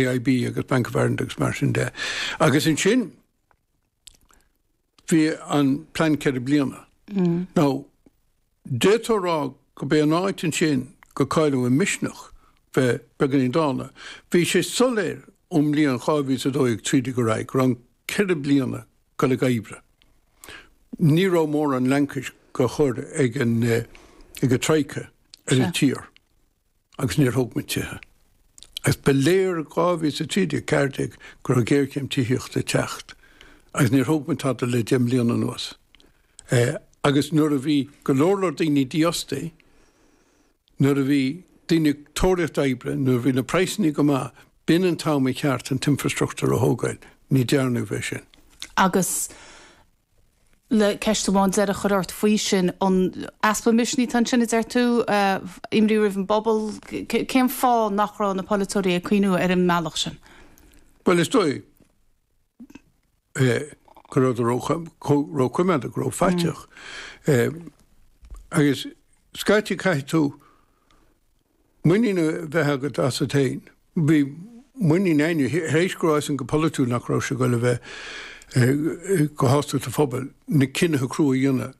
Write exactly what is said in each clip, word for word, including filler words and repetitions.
A I B agus Bank of Ireland agus mar sin de. Agus ansin bhí an plean ceithre bliana. Mm. Now, d'fhéadfá a rá go b'é an áit ansin gur cailleadh an misneach bheith beagáinín dána. Bhí sé soiléir ón mbliain dhá mhíle a dó dhéag trí déag ar aghaidh go raibh an ceithre bliana ag dul ag oibriú. Ní raibh mórán laincis á chur ag an ag an Troika ar an tír agus níor thóg muid tithe. Agus ba léir dhá mhíle a trí déag ceathair déag go raibh géarchéim tithíochta ag teacht agus níor thóg muid tada le deich mbliana anuas. Eh, agus nuair a bhí go leor leor daoine dífhostaithe, nuair a bhí daoine ag tóraíocht oibre, nuair a bhí na praghsanna go maith, b'in an t-am i cheart an t-infrastruchtúr a thógáil, ní dearnadh é sin. Agus le ceist amháin deiridh a chur ort faoi sin, an easpa misnigh atá ansin, a deir tú, imní roimh an bpobal, cén fáth nach raibh na polaiteoirí ag cuimhniú ar an mbealach sin? Well, is dóigh go raibh róchoimeádach, go rófhaiteach. Agus scaití caithfidh tú muinín a bheith agat asat féin. Bhí muinín againne, tar éis go raibh an go polaitiúil nach raibh sé ag dul a bheith go hásta sa phobal, na cinnithe crua a dhéanamh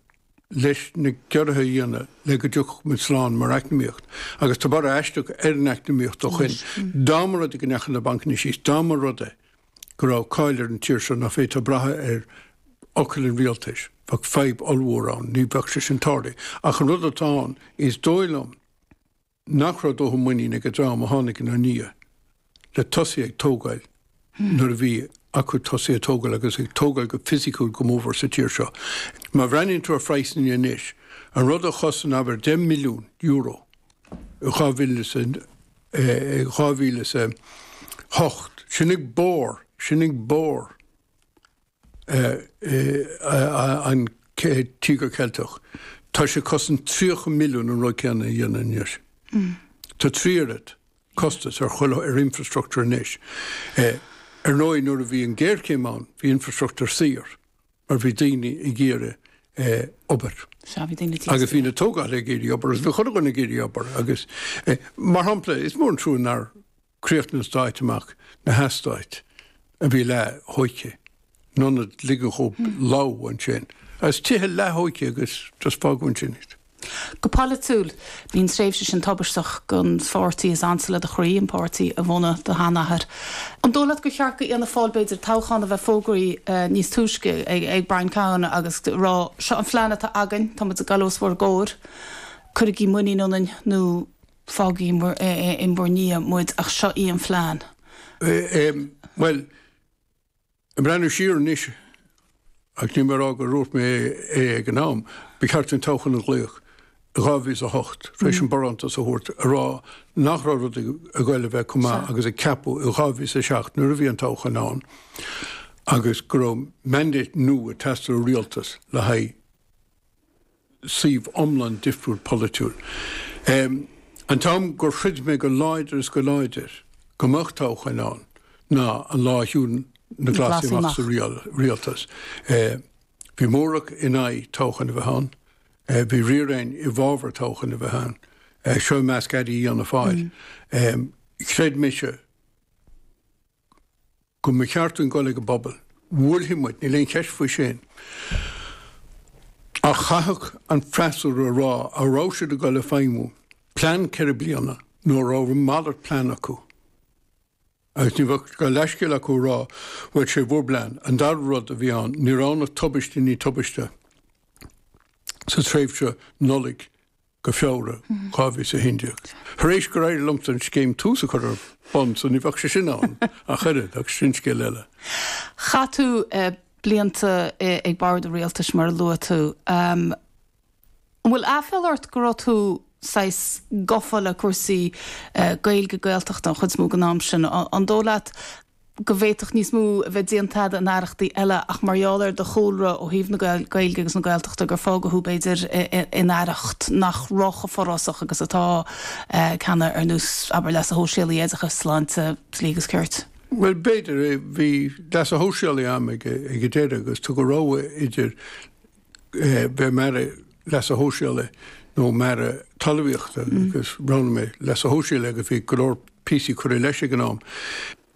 leis na ciorruithe a dhéanamh le go dtiocfadh muid slán mar eacnamaíocht. Agus tá borradh aisteach ar an eacnamaíocht ó shin. Dá mba rud é go ndeachaigh na bancanna síos, dá mba rud é go raibh cáil ar an tír seo nach bhféadfá brath ar fhocal an rialtais, bheadh fadhb ollmhór ann, ní bheadh sé sin tarlaithe. Ach an rud atá ann, is dóigh liom nach raibh dóthain muinín ag an dream a tháinig inár ndiaidh le tosaí ag tógáil nuair a bhí acu tosaí ag tógáil agus ag tógáil go fisiciúil go mór sa tír seo. Má bhreathnaíonn tú ar phraghsanna anois, an rud a chosain abair deich milliún euro dhá mhíle dhá mhíle a hocht, sin ag barr, sin ag barr an Tíogar Ceilteach. Tá sé cosaint tríocha milliún an rud céanna a dhéanamh anois. Tá trí oiread costas ar chuile ar infrastruchtúr anois. Ar ndóigh, nuair a bhí an géarchéim ann, bhí infrastruchtúr saor, mar bhí daoine ag iarraidh obair. Agus bhí na tógálaithe ag iarraidh obair, agus bhí chuile dhuine ag iarraidh obair, agus mar shampla, is mór an trua nár críochnaíodh an stáit amach na heastáit a bhí leath-thógtha, in ionad ligean dhóibh lobhadh ansin. Agus tithe leath-thógtha agus just fágadh ansin iad. Go polaitiúil, bhí an tréimhse sin tubaisteach don pháirtí is ansa le do chroí, an páirtí a bhunaigh do sheanathair. An dóigh leat gur cheart go Fhianna Fáil b'fhéidir toghchán a bheith fógraithe níos túisce ag, ag Brian Cowen agus rá seo an phlean atá againn, tá muid ag dul os bhur gcomhair, cuirigí muinín ionainn nó fágaigí in bhur ndiaidh muid ach seo í an phlean. Well, ag breathnú siar anois, ach ní mar gur dhúirt mé é ag an am, ba cheart an toghchán a ghlaoch dhá mhíle a hocht tar éis an barántas a thabhairt a rá nach raibh rud ag dul a bheith chomh maith agus a ceapadh i dhá mhíle a seacht nuair a bhí an toghchán ann agus go raibh mandate nua ag teastáil ó rialtas le haghaidh suíomh iomlán difriúil polaitiúil. Um, an t-am gur throid mé go láidir is go láidir go mbeadh toghchán ann ná an lá a shiúil na Glasaigh amach sa rialtas. Uh, bhí mórach in aghaidh toghchán a bheith ann, uh, bhí riar i bhfabhar toghchán a bheith ann. Uh, seo measc airí Fhianna Fáil. Mm. Um, chreid mise go mba cheart dúinn dul ag an bpobal. Bhuailfidh muid, níl aon cheist faoi sin. Ach chaithfeadh an freasúra a rá an raibh siad ag dul a feidhmiú plean ceithre bliana nó raibh malairt plean acu. Agus ní bheadh go leithscéal acu rá bhfuil sé bhur bplean. An dara rud a bhí ann, ní raibh na tubaistí ní tubaiste sa tréimhse Nollaig go Feabhra dhá mhíle a haon déag. Tar éis gur éirigh liomsa an scéim Tús a chur ar bun so ní bheadh sé sin ann ach oiread ach sin scéal eile. Chaith tú uh, blianta uh, ag bord an rialtais mar a luaigh tú. Um, an bhfuil aiféala ort go raibh tú saghas gafa le cúrsaí uh, Gaeilge Gaeltachta an chuid is mó den am sin an dóigh leat go bhféadfadh níos mó a bheith déanta in aireachtaí eile ach mar gheall ar do chúlra ó thaobh na Gaeilge agus na Gaeltachta gur fágadh thú b'fhéidir in aireacht nach raibh chomh forásach agus atá ceanna ar nós abair leasa shóisialaigh oideachas sláinte dlí agus cirt. Well b'fhéidir bhí leasa shóisialaigh agam ag ag an deireadh agus tugadh rogha idir bheith mar leasa shóisialaigh nó mar talmhaíochta agus roghnaigh mé leasa shóisialaigh agus bhí go leor píosaí curtha leis ag an am.